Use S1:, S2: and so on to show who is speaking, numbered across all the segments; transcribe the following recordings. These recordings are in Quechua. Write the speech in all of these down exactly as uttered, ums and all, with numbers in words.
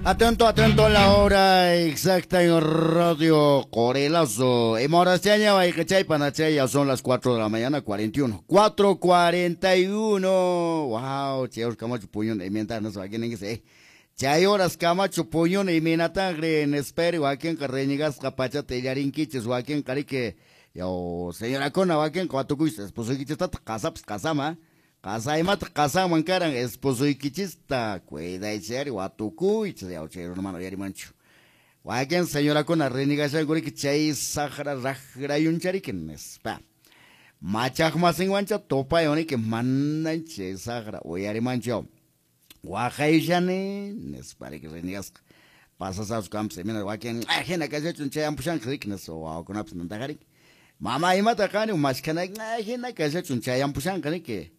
S1: Atento, atento a la hora exacta en Radio Corelazo. Emorachaña, chay panachay, ya son las cuatro de la mañana, cuarenta y uno. cuatro cuarenta y uno. Wow, cheos Camacho Puñón, y mientras no sé quién es eh. Chay horas Camacho Puñón y Minatangre en espero, a quien carreñigas capachate y arinquiches, o a quien carique. Yo, señora Cona, o a quien cuatucuis, esposo y quichista, casaps, casama. Qasaymata qasanman karan esposoykichista cuidaychari watukuychis yawchay hermano yarimanchu wakin señorakuna renegashankuriki chay saqra raqrayunchariki nispa machaqmasinwancha tupaywaniki manan chay saqra uyarimanchu waqayshani nispariki renegasqa pasasawchu kampas imina wakin hina kashachun chay ampushanqa riki nispa wawakunapas nantaqariki mama imata qani mashkhanayki hina kashachun chay ampushanqa riki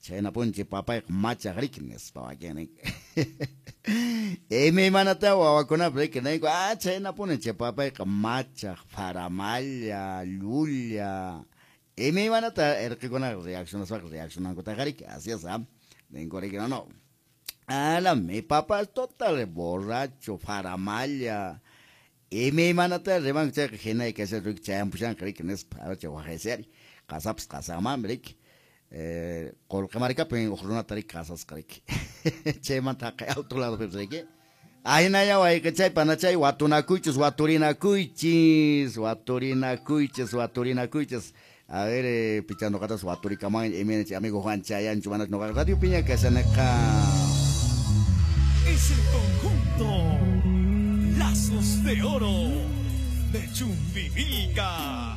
S1: chayna punchi papayqa machaq riki nispa wakin imaymanata wawakunapas riki ninku ah chayna puni chay papayqa machaq faramalla llulla imaymanata irqikunaqa reaccionaspaqa reaccionankutaqa riki así es ah ninku riki no no ala mi papá es total borracho faramalla imaymanata rimanku chayqa hinay kashan riki chayampushanqa riki nispa chay waqaysari qasapas qasanmanmi riki qollqi markapin huk runata riki qasasqa riki chaymanta haqay alto ladopi riki ahinalla wayqichay panachay watunakuychis waturinakuychis waturinakuychis waturinakuychis a ver eh, picha noqatas waturikaman imayna amigo Juan chayanchu mana noqa radio piña kashanaqa
S2: es el conjunto Lazos de Oro de Chumbivilca.